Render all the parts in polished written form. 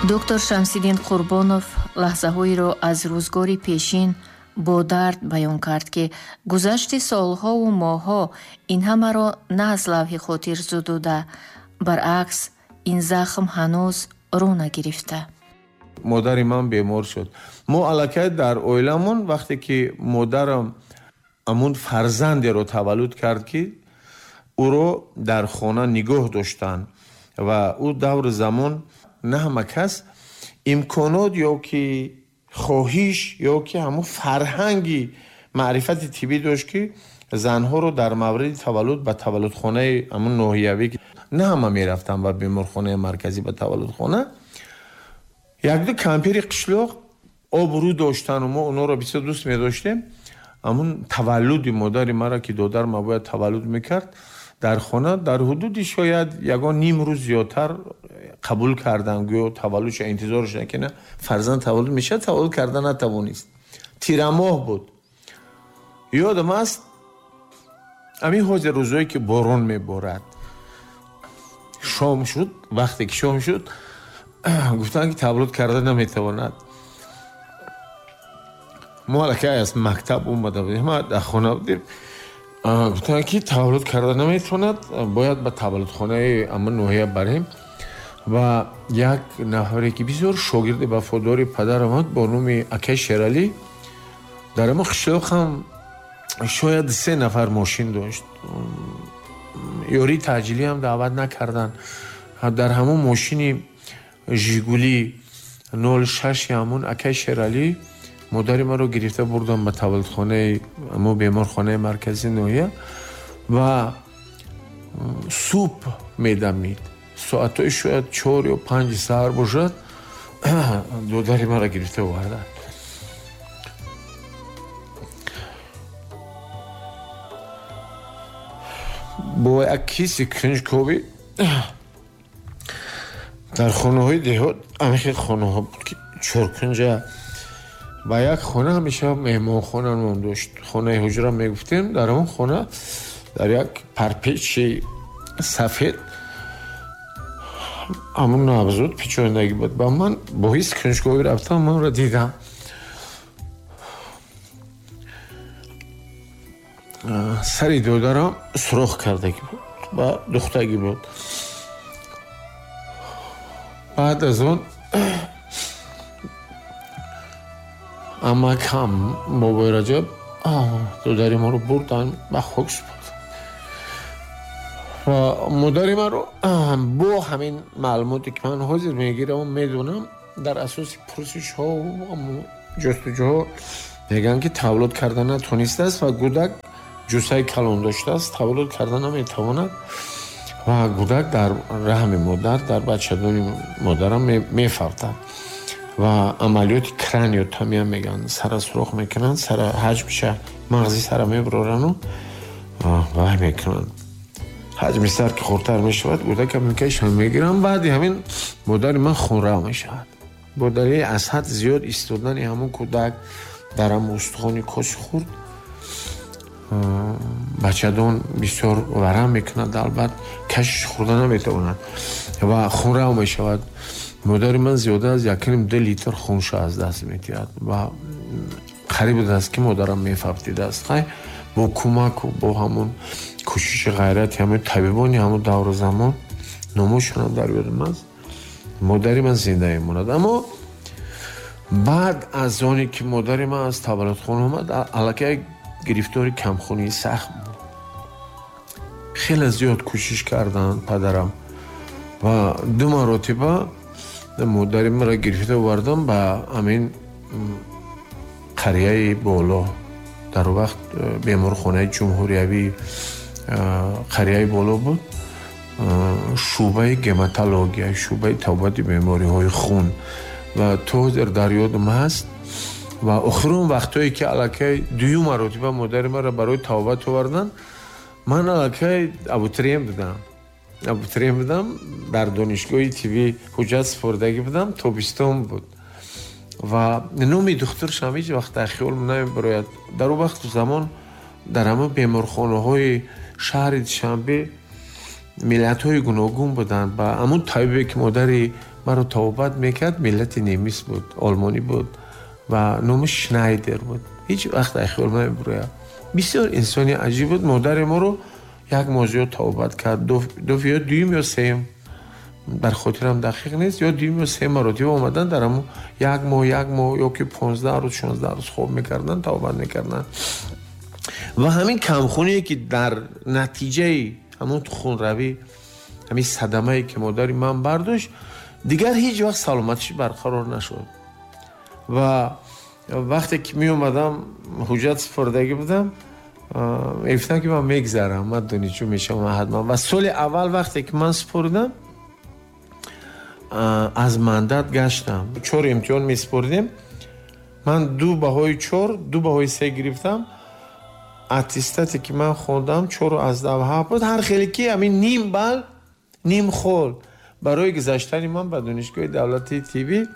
Доктор Шамсиддин Қурбонов лаҳзаҳоеро аз рӯзгори пешин бо дард баён кард, ки гузашти солҳову моҳҳо ин ҳамаро на аз лавҳи хотир зудуда, баръакс, ин захм ҳанӯз рӯ нагирифта. Модари ман бемор шуд. Мо аллакай дар оиламон вақте ки модарам ҳамун фарзандеро таваллуд кард, ки ӯро дар хона нигоҳ доштанд ва ӯ даври замон на ҳама кас имконот ё ки хоҳиш ё ки ҳамун фарҳанги маърифати тиббӣ дошт, ки занҳоро дар мавриди таваллуд ба таваллудхонаи ҳамун ноҳиявӣ на ҳама мерафтанд ба беморхонаи марказӣ ба таваллудхона. Якду кампири қишлоқ обрӯ доштану мо онҳоро бисёр дӯст медоштем. Ҳамун таваллуди модари мара, ки додар ма бояд таваллуд мекард, дар хона дар ҳудуди шояд ягон ним рӯз зиёдтар қабул карданд, гӯё таваллудша интизор шуданд, ки на фарзанд таваллуд мешавад, таваллуд карда натавонист. Тирамоҳ буд. Ёдам аст, ҳамин ҳозир рӯзое ки борон меборад, шом шуд, вақте ки шом шуд, гуфтанд, ки таваллуд карда наметавонад. Мо аллакай аз мактаб омада будем, ма дар хона будем. Гуфтанд, ки таваллуд карда наметавонад, бояд ба таваллудхонаи ҳамон ноҳия барем. Ва як нафаре, ки бисёр шогирди вафодори падарам буд бо номи акай Шералӣ, дар ҳамон қишлоқ ҳам шояд 3 нафар мошин дошт. Ёрии таъҷилӣ ҳам даъват накарданд. Дар ҳамон мошини Жигули нол шаши ҳамон акай Шералӣ модари маро гирифта бурдам ба таваллудхонаи ҳамон беморхонаи марказии ноҳия ва субҳ медамид. Соатҳои шояд 4 ё 5 саҳар бошад, додари маро гирифта оварданд. Бо як киси кунҷковӣ дар хонаҳои деҳот ҳамин хел хонаҳо буд, ки чоркунҷа ба як хона ҳамеша меҳмонхона ном дошт. Хонаи ҳуҷра мегуфтем. Дар он хона дар як парпечи сафед ҳамун навзод печондагӣ буд. Ба ман бо ҳис кунҷковӣ рафтам, манро дидам. Сари додарам сурох кардагӣ буд ва духтагӣ буд. Баъд аз он амакам бобои Раҷаб додари маро бурданд ба хок супурданд ва модари маро бо ҳамин маълумоте, ки ман ҳозир мегираму медонам, дар асоси пурсишҳо ҷустуҷӯҳо мегӯянд, ки таваллуд карда натонистааст ва гудак ҷуссаи калон доштааст, таваллуд карда наметавонад ва гудак дар раҳми модар, дар бачадони модарам мефавтад ва амалиёти краниотомия мегӯянд, сара сурох мекунанд, сара ҳаҷмша мағзи сара мебарорану вай мекунанд. Ҳаҷми сар ки хурдтар мешавад, гудака мекашанд, мегиранд. Баъди ҳамин модари ман хунрав мешавад. Бо далели аз ҳад зиёд истодани ҳамон кӯдак дар ҳамон устухони коси хурд, бачадон бисёр варам мекунад, албат кашиш хӯрда наметавонад ва хунрав мешавад. Модари ман зиёда аз 1.5 литр хунша аз даст медиҳад ва қариб будааст, ки модарам мефавтидааст. Хай, бо кӯмаку бо ҳамон кӯшиши ғайрати ҳамон табибони ҳамон давру замон, номошонам дар ёдам аст, модари ман зинда мемонад. Аммо баъд аз оне ки модари ман аз таваллудхона омад, аллакай гирифтори камхунии сахт буд. Хеле зиёд кӯшиш карданд падарам ва 2 маротиба модари маро гирифта овардам ба ҳамин қарияи боло. Дар он вақт беморхонаи ҷумҳуриявии қарияи боло буд, шӯъбаи гематология, шӯъбаи табобати бемориҳои хун ва то ҳозир дар ёдам ҳаст. Ва охирон вақтҳое ки аллакай дуюм маротиба модари маро барои табобат оварданд, ман аллакай абутриен будам. Абутриен будам, дар донишгоҳи тиббӣ ҳуҷҷат супордагӣ будам, тобистон буд ва номи духтуршам ҳеҷ вақт дар хиёлам намебарояд. Дар он вақту замон дар ҳамон беморхонаҳои шаҳри Душанбе миллатҳои гуногун буданд. Ба ҳамон табибе, ки модари маро табобат мекард, миллати немис буд, олмонӣ буд ва номаш Шнайдер буд. Ҳеҷ вақт аз хаёл намебурояд. Бисёр инсони аҷиб буд. Модари моро як моҳ зиёд табобат кард. Ё дуюм ё сеюм, дар хотирам дақиқ нест, ё дуюм ё сеюм маротиба омадан дар ҳамун як моҳ, як моҳ ё ки 15 рӯз, 16 рӯз хоб мекарданд, табобат мекарданд. Ва ҳамин камхуние ки дар натиҷаи ҳамун хунравӣ, ҳамин садамае ки модари ман бардошт, дигар ҳеҷ вақт саломатиш барқарор нашуд. Ва вақте ки меомадам, ҳуҷҷат супордагӣ будам, мегуфтам ки ман мегзарам, ман донишҷӯ мешавам ҳатман. Ва соли аввал вақте ки ман супоридам, аз мандат гаштам. 4 имтиҳон месупоридем, ман 2 баҳои 4, 2 баҳои 3 гирифтам. Аттестате ки ман хондам 4.7 буд. Ҳар хеле ки ҳамин ним бал, ним хол барои гузаштани ман ба донишгоҳи давлатии тиббӣ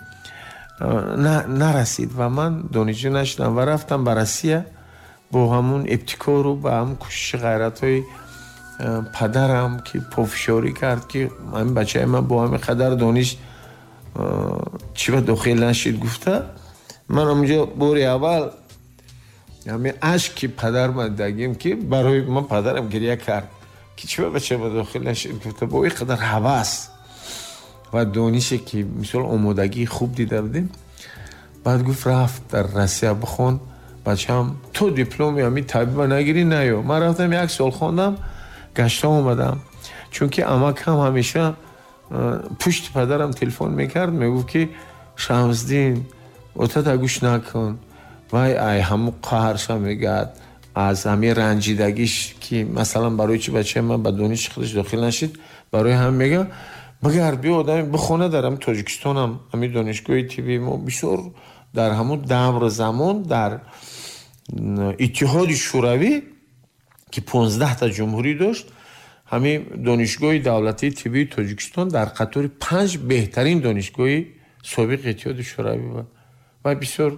нарасид ва ман донишҷӯ нашудам ва рафтам ба Россия бо ҳамун ибтикору ба ҳамун кӯшиши ғайратҳои падарам ки пофишорӣ кард ки ҳамин бачаи ман бо ҳамин қадар дониш чӣ ба дохил нашид гуфта. Ман ҳамунҷо бори аввал ҳамин ашки падарма дагим ки барои ман падарам гиря кард ки чӣ ба бача ба дохил нашид гуфта. Бо ин қадар ҳавас ва донише ки мисол омодагии хуб дида будем. Баъд гуфт рафт дар Россия бихон бачаам, то дипломи ҳамин табиба нагирӣ наё. Ман рафтам як сол хондам, гашта омадам, чунки амакам ҳамеша пушти падарам телефон мекард, мегуфт ки Шамсдин, отата гӯш накун, вай ай ҳамун қаҳрша мегӯяд, аз ҳамин ранҷидагиш ки масалан барои чи бачаи ман ба дониши худаш дохил нашид, барои ҳам мегӯяд багар биё одами бихона дар ҳамин Тоҷикистонам, ҳамин донишгоҳи тиббии мо бисёр дар ҳамун давр замон дар Иттиҳоди Шӯравӣ ки 15 та ҷумҳурӣ дошт, ҳамин донишгоҳи давлатии тиббии Тоҷикистон дар қатори 5 беҳтарин донишгоҳи собиқи Иттиҳоди Шӯравӣ буд. Ва бисёр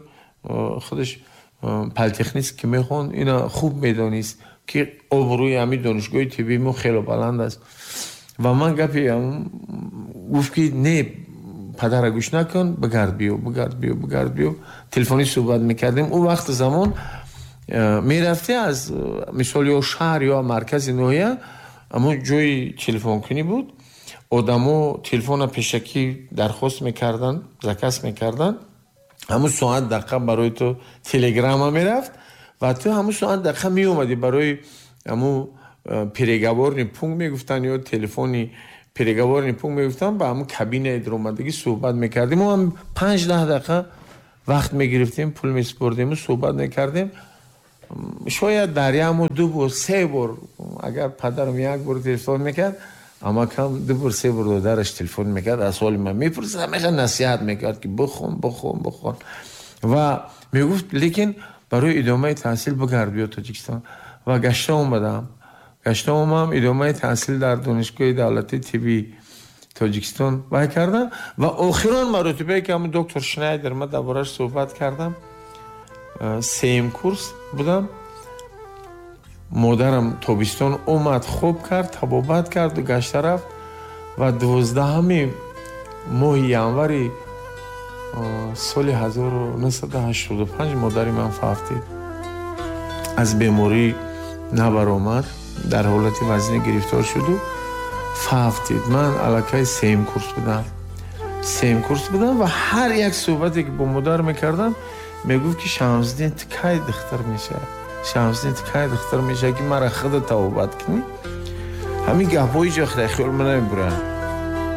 худаш политехнист ки мехонд, ина хуб медонист ки обрӯи ҳамин донишгоҳи тиббии мо хело баланд аст. Ва ман гапи гуфт ки не, падара гӯш накун, бигард биё, бигард биё, бигард биё. Телефонӣ суҳбат мекардем. Ӯ вақти замон мерафти аз мисол ё шаҳр ё маркази ноҳия, аммо ҷои телефонкунӣ буд. Одамо телефона пешакӣ дархост мекарданд, заказ мекарданд. Ҳамун соат дақиқа барои ту телеграмма мерафт ва ту ҳамун соат дақиқа меомадӣ барои ҳамун переговорный пункт мегуфтанд ё телефони переговорный пункт мегуфтанд, ба ҳамун кабинаи даромадагӣ суҳбат мекардем. Мо ҳам 5-10 дақиқа вақт мегирифтем, пул месупордему суҳбат мекардем. Шояд дар як моҳ 2 бор, 3 бор, агар падарам як бор телефон мекард, амакам 2 бор, 3 бор додараш телефон мекард, аз ҳоли ман мепурсид, ҳамеша насиҳат мекард ки бихон, бихон, бихон. Ва мегуфт лекин барои идомаи таҳсил бигард биё Тоҷикистон. Ва гашта омадам. Гашта омадам, идомаи таҳсил дар донишгоҳи давлатии тиббии Тоҷикистон вай кардам. Ва охирон маротибае ки ҳамун доктор Шнайдер ман дар бораш суҳбат кардам, сеюм курс будам. Модарам тобистон омад, хоб кард, табобат карду гашта рафт ва 12 моҳи январи соли 1985 модари ман фавтид. Аз беморӣ набаромад, дар ҳолати вазнӣ гирифтор шуду фавтид. Ман аллакай сеюм курс будам. Сеюм курс будам ва ҳар як суҳбате ки бо модар мекардам, мегуфт ки Шамсдин, ту кай духтар мешавӣ? Шамсдин, ту кай духтар мешавӣ ки мара худа табобат кунӣ? Ҳамин гапҳо ҳеҷ вақт дар хаёли ман намебуранд.